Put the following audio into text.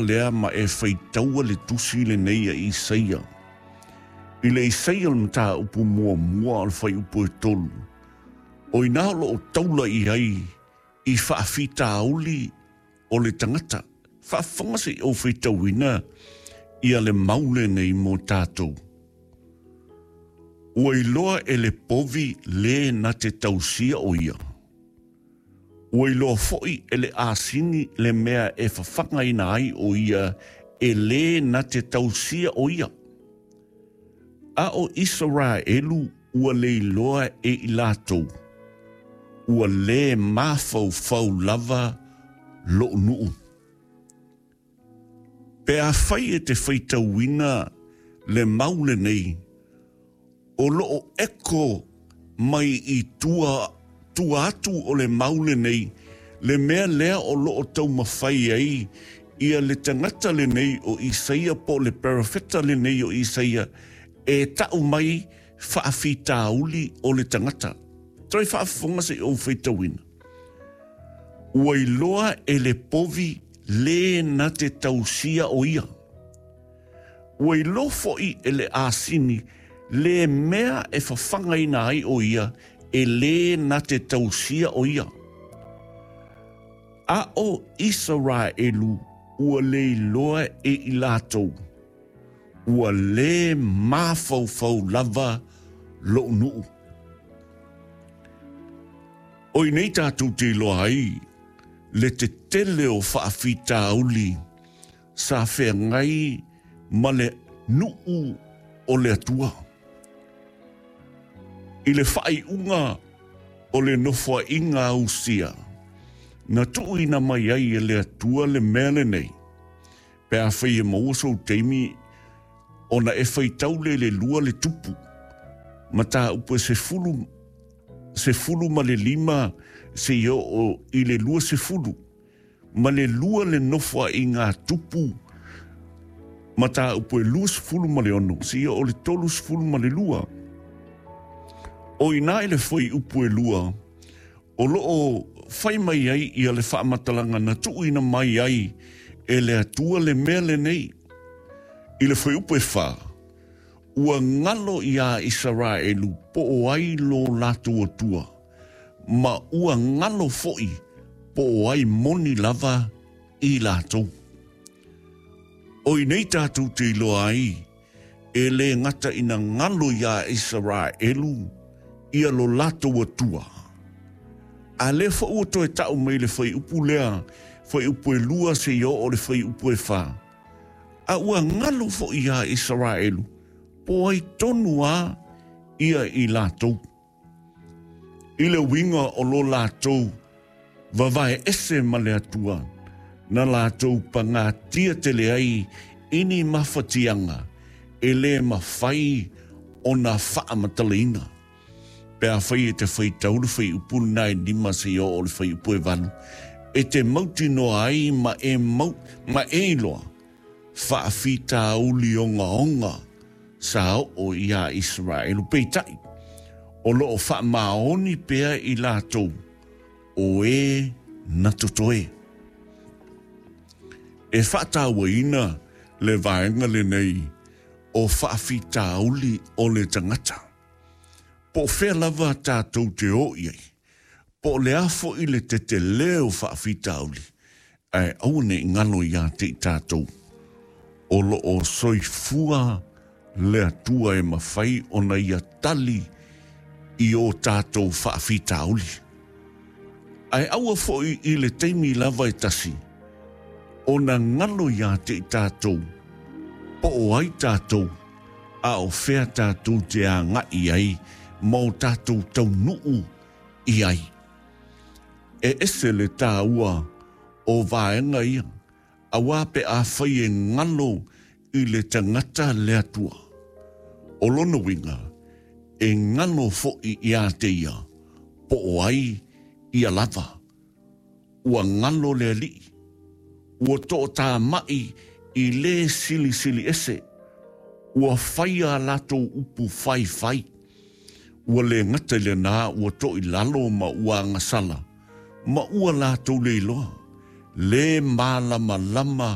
Lea ma e faitaua le tusi lenei a Isaia. I le Isaia le mataupu muamua o le fuaiupu e 3, o ina o lo o taula i ai i faafitauli o le tagata. Faafofoga se i ou faitauina ia le mau lenei mo tatou. Ua iloa e le povi le na te tausia o ia. Ua iloa foi e le asini le mea e fafagaina ai o ia e lē na te tausia o ia. A o Isaraelu ua le iloa e i latou, ua lē mafaufau lava loʻu nuu. Pe afai e te faitauina le mau lenei, o lo o eko mai i tua, tua atu o le mau lenei, le mea lea o lo o taumafai ai ia le tagata lenei o Isaia po o le perofeta lenei o Isaia e ta'u mai faafitauli o le tagata. Toe faafofoga se i ou faitauina. Ua iloa e le povi lē na te tausia o ia. Ua iloa foi e le asini le mea e fafagaina ai o ia e lē na te tausia o ia. A o Isaraelu ua le iloa e i latou, ua lē mafaufau lava loʻu nuu. O i nei tatou te iloa ai le tetele o faafitauli sa feagai ma le nuu o le Atua. I le faaiuga o le nofoaiga a Usia, na tuuina mai ai e le Atua le mea lenei, pe afai e maua sou taimi ona e faitau le le lua le tupu, mataupu e 10, 15 seia oo i le 20, ma le lua le nofoaiga a tupu mataupu e 26 seia oo i le 32. O i ina i le fuaiupu e 2, o lo o fai mai ai ia le faamatalaga na tuuina mai ai e le Atua le mea lenei. I le fuaiupu e 4, ua galo iā Isaraelu po o ai lo latou Atua, ma ua galo foi po o ai moni lava i latou. O i nei tatou te iloa ai e lē gata ina galo iā Isaraelu ia lo latou Atua, a lea foi ua toe ta'u mai le fuaiupu lea, fuaiupu e 2 seia oo i le fuaiupu e 4, a ua galo foi iā Isaraelu po o ai tonu a ia i latou. I le uiga o lo latou vavae ese ma le Atua, na latou pagatia tele ai i ni mafatiaga e lē mafai ona faamatalaina. Pe afai e te faitau le fuaiupu lena e 5 seia oo i le fuaiupu e 8, e te mautinoa ai ma e mau, ma e iloa faafitauli ogaoga sa oo iā Isaraelu. Peitai, o lo o faamaoni pea i latou o e na totoe. E faatauaina le vaega lenei o faafitauli o le tagata. Po o fea lava tatou te o i ai, po o le a foi le tetele o faafitauli, ae aua ne i galo iā te i tatou, o lo o soifua le Atua e mafai ona Ia tali i o tatou faafitauli. Ae aua foi i le taimi lava e tasi ona galo iā te i tatou po o ai tatou, a o fea tatou te agai ai ma o tatou taunuu i ai. E ese le tāua o vaega ia, auā pe afai e galo i le tagata le Atua. O lona uiga, e galo foi iā te ia, po o ai ia lava. Ua galo le Alii, ua toʻatāmaʻi i lē silisili ese, ua faia a latou upu faifai. Ua lē gata i lenā ua toʻilalo ma ua agasala, ma ua latou le iloa, lē mālamalama